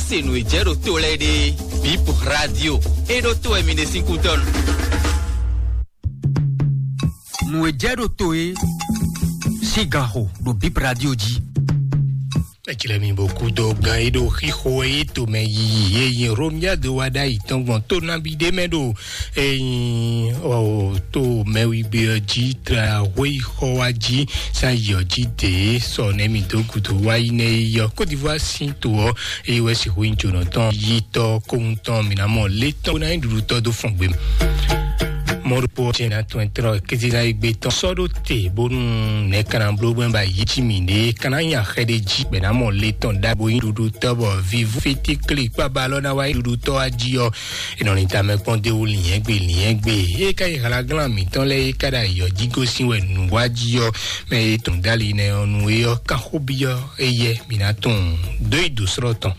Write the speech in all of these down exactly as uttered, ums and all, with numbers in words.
Se nǔ e jɛ ɖo to lɛ́ɛ ɖe, Bip Radio, e ɖo to wɛ mi ɖe sín kútɔ́nu. Nǔ e jɛ ɖo to e sín ganxo ɖo Bip Radio jí. Eclɛ mi bó kú dó gan e ɖo xixo e yi tomɛ yiyi e yi Romia do wa ɖ'ayǐ tɔn gbɔn tó nabí ɖé mɛ ɖo eyin ɔ tó mɛwigbe ɔ jí tra hwéyixɔ wa jí san yi ɔ jí dě sɔ nɛ mi dó gudo wa yi nɛ yi ɔ Côte d'Ivoire sín to ɔ eye wɛ si hwé jǒnɔ tɔn yi tɔ kóhun tɔn mi ná mɔ lé tɔn ná yi ɖuɖu tɔ dó fɔn gbé. Mɔɖokpɔ jɛna tɔn trɔ kézela yi gbé tɔn sɔ́ ɖó te bónú nɛ kana bló gbɛn ba yi jí mi ɖe kana nya xɛ ɖe jí gbɛ ná mɔ lé tɔn ɖagbo yi ɖuɖu tɔ bɔ vivu fiti kli kpaba lɔ ná wa yi ɖuɖu tɔ wa jí ɔ enɔ ni tamɛ kpɔn de wo liɛn gbe liɛn gbe e ka yi hlaglán mitɔn lɛ e ka ɖo ayɔ jí gosín wɛ nǔ wa jí ɔ mɛ e tɔn dali nɛ ɔ nu e ɔ kan xó byɔ eyɛ mi ná tɔn dó yi do srɔ́ tɔn.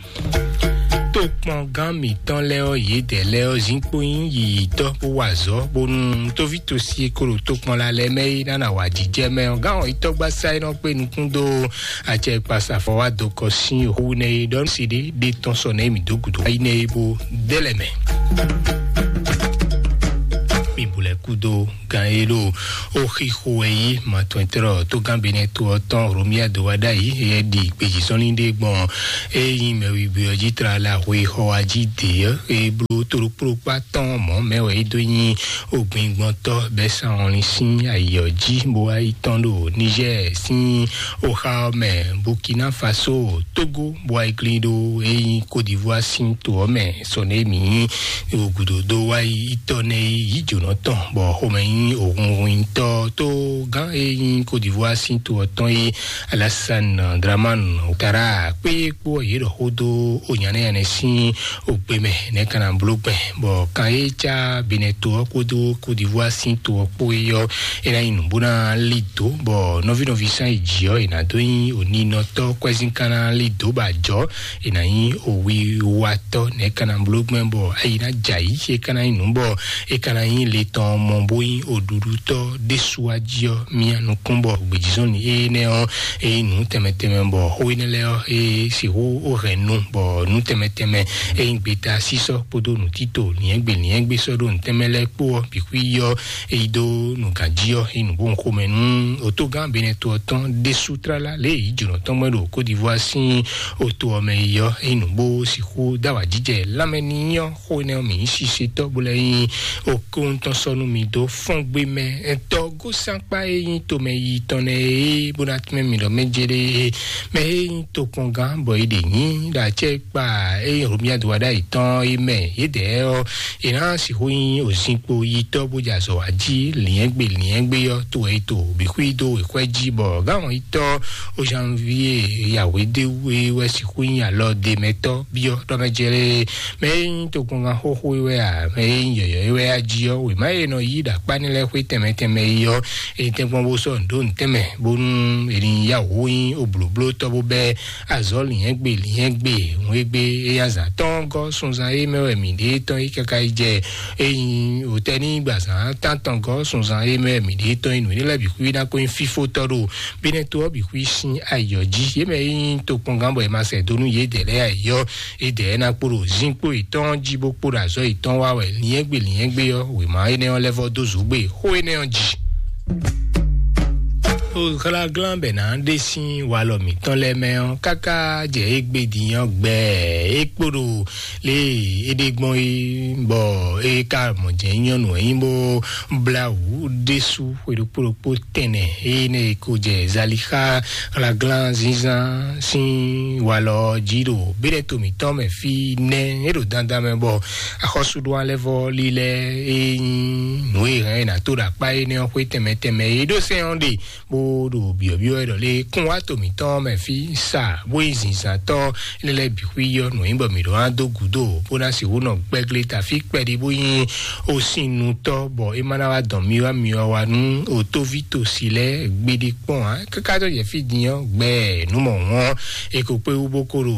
Tokpɔngán mǐtɔn lɛ́ɛ ɔ́, yědɛɛ lɛ́ɛ ɔ́, zinkpo nyí yiyǐtɔ́ bó wa azɔ̌, bónú tóví tosi e ko ɖo tokpɔnla lɛ́ɛ mɛ é ná ná wa jijɛ mɛ ɔ́, gán ɔ́ yi tɔ́gbásá e nɔ kpé nukún dó acɛ kpasafɔ wá dó kɔ sín xú nɛ é ɖɔ nú siɖé ɖé tɔn sɔ nɛ mǐ dó gǔdo ayi nɛ é bó dé lɛ mɛ. Mi bu lɛ kúdó gan e ɖo oxixo wɛ yí matɔntɔ́ tógán benɛto ɔ́ tɔn romia do wá ɖ'ayǐ, yɛ ɖi gbejizɔnlin ɖé gbɔn e nyí mɛwigbe ɔ́ jí tlala hwe xɔ wá jí dě ɔ́, e bló tóɖokpóɖokpá tɔn mɔ̌ mɛ wɛ é dó nyí ogbingbɔntɔ́ bɛ́ sán ɔ́lin sín ayǐ ɔ́ jí, bó wá yi tɔ́n ɖo Niger sín oxa ɔ́ mɛ, Burkina Faso, Togo, bó wá yi glín ɖó e nyí Côte d'Ivoire sín to ɔ́ mɛ. Sɔ nɛ mǐ nyí gǔdo dó wá yi tɔ́ nɛ yi yí jǒnɔ tɔn, bɔ xomɛ nyí òhunhun nyitɔ́ tó gán e nyí Côte d'Ivoire sín to ɔ́ tɔn yi Alassane Dramane Ouattara kpé kpó yě ɖɔ xó dó onyanɛyanɛ sín ogbe mɛ nɛ́ ka ná bló gbɛn, bɔ kan e cá Benɛto ɔ́ kpódó Côte d'Ivoire sín to ɔ́ kpó é ɔ́, é ná nyí nǔ bó ná lí dǒ, bɔ nɔvíɖɔví sán yi jǐ ɔ́, è nǎ dó nyí oninɔtɔ́ kwɛ́zín ka ná lí dǒ bɔ ajɔ̌ è nǎ nyí owiwatɔ́ nɛ́ ka ná bló gbɛn, bɔ ayi ná jɛ ayǐ, é ka ná nyí nǔ bɔ é ka ná nyí le tɔn mɔ bó nyí oɖuɖutɔ́ ɖésú wá jí ɔ́, mía nukún bɔ gbějízɔ́n ni énɛ́ ɔ́, é nyí nǔ tɛnmɛ tɛnmɛ, bɔ xó énɛ́ lɛ́ɛ ɔ́, é sixú ó hɛn nu, bɔ nǔ tɛnmɛ tɛnmɛ é nyí gbeta sísɔ́ kpódó nǔtítò, lǐɛ́ngbé lǐɛ́ngbé sɔ́ ɖó nǔ tɛnmɛ lɛ́ɛ kpó ɔ́, bǐ xwí ɔ́, é yi dó nǔganjí ɔ́, é yi nǔ bó xomɛ nú otógán Benɛto ɔ́ tɔn ɖésú tlala lě e yǐ jǒnɔ tɔn gbɛn ɖo Côte d'Ivoire sín oto ɔ́ mɛ yi ɔ́, é yi nǔ bó sixú dó awǎjijɛ lanmɛ ní nyí ɔ́, xó énɛ́ ɔ́ mǐ nyí sisetɔ́ bó lɛ́ nyí okúntɔ́ sɔ́ nú mi dó fɔ́n gbé mɛ. Tɔ́ gósánkpá e nyí tomɛ yi tɔn nɛ é bó ná tmɛ́ mi ɖɔ mɛ jɛ ɖe é mɛ é nyí tokpɔngán bɔ é ɖe nyí ɖo acɛ kpa e nyí Romia do wa ɖ'ayǐ tɔn é mɛ yědɛɛ ɔ́, è nǎ sixú nyí òzinkpo yitɔ́ bó jɛ azɔ̌ wa jí, lǐɛ́ngbé lǐɛ́ngbé ɔ́, to wɛ è to bǐ xwí dó wěxwɛ́ jí, bɔ gǎn yitɔ́ Ozanvie Yahweh ɖé wú é wɛ sixú nyí alɔ ɖe mɛtɔ́ byɔ́ ɖɔ mɛ jɛ lé mɛ e nyí tokpɔngán xóxó é wɛ a, mɛ e nyí yɔ̌yɔ́ é wɛ a jí ɔ́, wěma e nɔ yí ɖo akpá ní lɛ́ɛ xwé tɛnmɛ tɛnmɛ é ɔ́, è tɛ́nkpɔ́n bó sɔ́ nǔ dó nǔ tɛnmɛ, bónú è ní yá wǔ nyí oblǒblótɔ́ bó bɛ́ azɔ̌ lǐnyɛ́gbe lǐnyɛ́gbe, hwégbé, éyázán tɔn gɔ́ sunzan e mɛ wɛ mǐ ɖe tɔn yi káká yi jɛ, ényí hotɛ́ ní gbazán tántɔn gɔ́ sunzan e mɛ wɛ mǐ ɖe tɔn yi nǔ énɛ́ lɛ́ɛ bǐ xwí ná ko nyí fífótɔ́ ɖo bínɛ́ tó ɔ́ bǐ xwí sín ayǐ ɔ́ jí. Yě mɛ e nyí tokpɔngán bɔ è ma sɛ dó nú yědɛɛ lɛ́ɛ ayǐ ɔ́, yědɛɛ ná kpo ɖo zinkpo yětɔn jí bó kpo ɖo azɔ̌ yětɔn wa wɛ. Lǐnyɛ́gbe lǐnyɛ́gbe ɔ́, wěma énɛ́ ɔ́ lɛ́ vɔ́ dó zǒgbé xó énɛ́ ɔ́ jí. Xláglán bɛ ná ɖe sín walɔ mǐtɔn lɛ́ɛ mɛ ɔ́, káká jɛ égbé din ɔ́ gbɛ é kpo ɖo lě e é ɖe gbɔn é, bɔ é ka mɔ jɛ nyɔ́nu ɛ nyí bó blá wǔ ɖésú xwe ɖokpó ɖokpó tɛnɛ énɛ́ e ko jɛ Zalixa hlaglán zínzán sín walɔ jí ɖo béɖɛ́ to mǐtɔn mɛ fí nɛ́. É ɖo dandan mɛ bɔ axɔ́súɖó alɛ́vɔ́ lílɛ́ e nyí nǔ e hɛn è nǎ tó ɖo akpá énɛ́ ɔ́ xwé tɛnmɛ tɛnmɛ e ɖó sɛ́n ɔ́ ɖe bó ɖo byɔ̌byɔ́ wɛ ɖɔ lé kún wá to mǐtɔn mɛ fí sa bó yi zǐnzǎntɔ́ lɛ́lɛ́ bǐ xwí yɔ́ nǔ nyí bɔ mǐ ɖó ná dó gǔdo bó ná sixú nɔ gbɛ́glé tafí kpɛɖí bó nyí osin nutɔ́ bɔ é má ná wá dɔn myɔ wá myɔ wá nú otóví tosi lɛ́ɛ gbeɖé kpɔ́n ǎ. Káká tó jɛ fí din ɔ́ gbɛ nǔ mɔ hɔn é ko kpé wú bó ko ɖo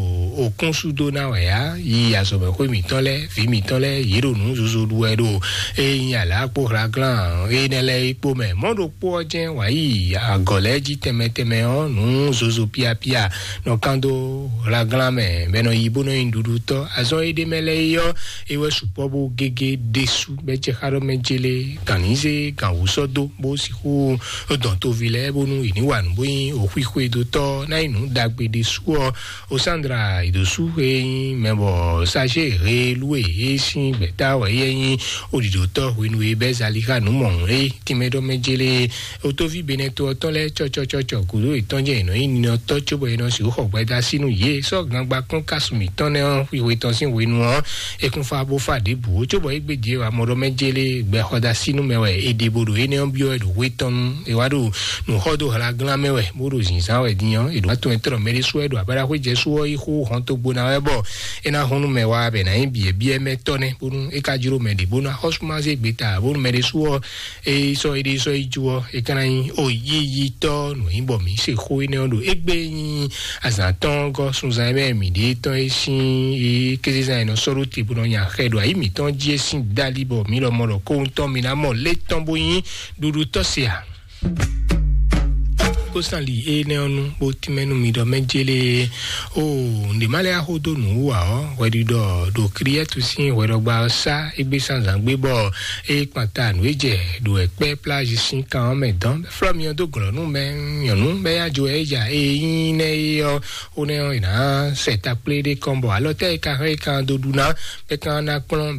òkúnsúdó ná wɛ á yi azɔ̌mɛxwé mǐtɔn lɛ́ɛ vǐ mǐtɔn lɛ́ɛ yě ɖo nǔ zozo ɖu wɛ ɖo é nyí alǎ kpó hlaglán énɛ́ lɛ́ɛ é kpó mɛ mɔ̌ ɖokpó ɔ́ jɛ́n wǎ yi Gɔ̌ lɛ́ɛ jí tɛnmɛ tɛnmɛ ɔ́, nǔ zozo piapia nɔ kán dó hlaglán mɛ, bɔ è nɔ yi bó nɔ nyi nǔɖuɖutɔ́. Azɔn e ɖ'é mɛ lɛ́ɛ é ɔ́, é wɛ sukpɔ́ bó gégé ɖésú, bɔ é jɛ xá ɖɔ mɛ jélé, gǎnnízé, gǎnwú sɔ́ dó, bó sixú dɔn toví lɛ́ɛ bónú yě ní wa nǔ bó nyí òxwíxwedótɔ́ ná nyí nǔ ɖagbe ɖésú ɔ́. Osandra Idosu e nyí mɛ bɔ Saje Helue e sín gbɛ̌ta wɛ é nyí oɖiɖotɔ́ hwenu e bɛ́ Zalixa nǔ mɔ̌hun é tínmɛ ɖɔ mɛ jélé. Otóví Benɛto ɔ́ tɔn lɛ́ɛ cɔcɔcɔcɔ gǔdo yětɔn jɛ è nɔ nyí ninɔtɔ́ cóbɔ è nɔ sixú xɔ gbɛda sín nú yě. Sɔ́ gangba kún kásu mǐtɔn nɛ́ ɔ́, xwixwe tɔn sín hwenu ɔ́, é kún fá bó fá ɖěbǔ ó, cóbɔ é gbé jǐ wá mɔ ɖɔ mɛ jélé gbɛxɔdá sínú mɛ wɛ è ɖe bó ɖo énɛ́ ɔ́ byɔ́ wɛ ɖo hwé tɔn nú è wá ɖo nǔ xɔ dó hlaglán mɛ wɛ, bó ɖo zǐnzán wɛ din ɔ́, è ɖo atɔn e tlɔ mɛ ɖésú wɛ ɖo abáɖaxwé jɛ sú ɔ́ yi xó hɔn togbo ná wɛ bɔ é ná hun nú mɛ wá bɛ ná nyí biɛ̌biɛ́ mɛ tɔ́ nɛ́, bónú é ka jló mɛ ɖě bónú axɔ́súmázé gbeta bónú mɛ ɖésú ɔ́ é sɔ́ éɖée sɔ́ yi ju ɔ́, é ka ná nyí o yíyítɔ́ nǔ nyí bɔ mǐ se xó énɛ́ ɔ́ ɖo égbé nyí azǎn tɔn gɔ́ sunzan e mɛ mǐ ɖe tɔn e sín é kézezán e nɔ sɔ́ ɖó te bó nɔ nya xɛ ɖo ayǐ mǐtɔn jí é sín dali bɔ mǐ lɔ mɔ ɖɔ kóhun tɔn mǐ ná mɔ lé tɔn bó nyí ɖuɖu tɔ́ se a? Kósan li énɛ́ ɔ́ nú bó tínmɛ nú mi ɖɔ mɛ jélé o ǹdè má lɛ́ axó dó nǔ wú ǎ ɔ́, hwɛɖiɖɔ ɖo Kliyɛ́tu sín hwɛɖɔgba ɔ́ sá égbé sánzǎn gbé bɔ é kpan ta nǔ e jɛ ɖo ɛkpɛ́ plázhi sín kan ɔ́ mɛ dɔn flɔ́ mi ɔ́ dó glɔ̌ nú mɛ nyɔ̌nu bɛ́ yá jo ɛ ja e nyí nɛ́ é ɔ́, ó nɛ́ ɔ́ è nǎ sɛ takplé ɖé kɔn bɔ alɔ tɛ́ e ka hɛn é kan dó ɖu ná bɛ́ kan ná kplɔ́n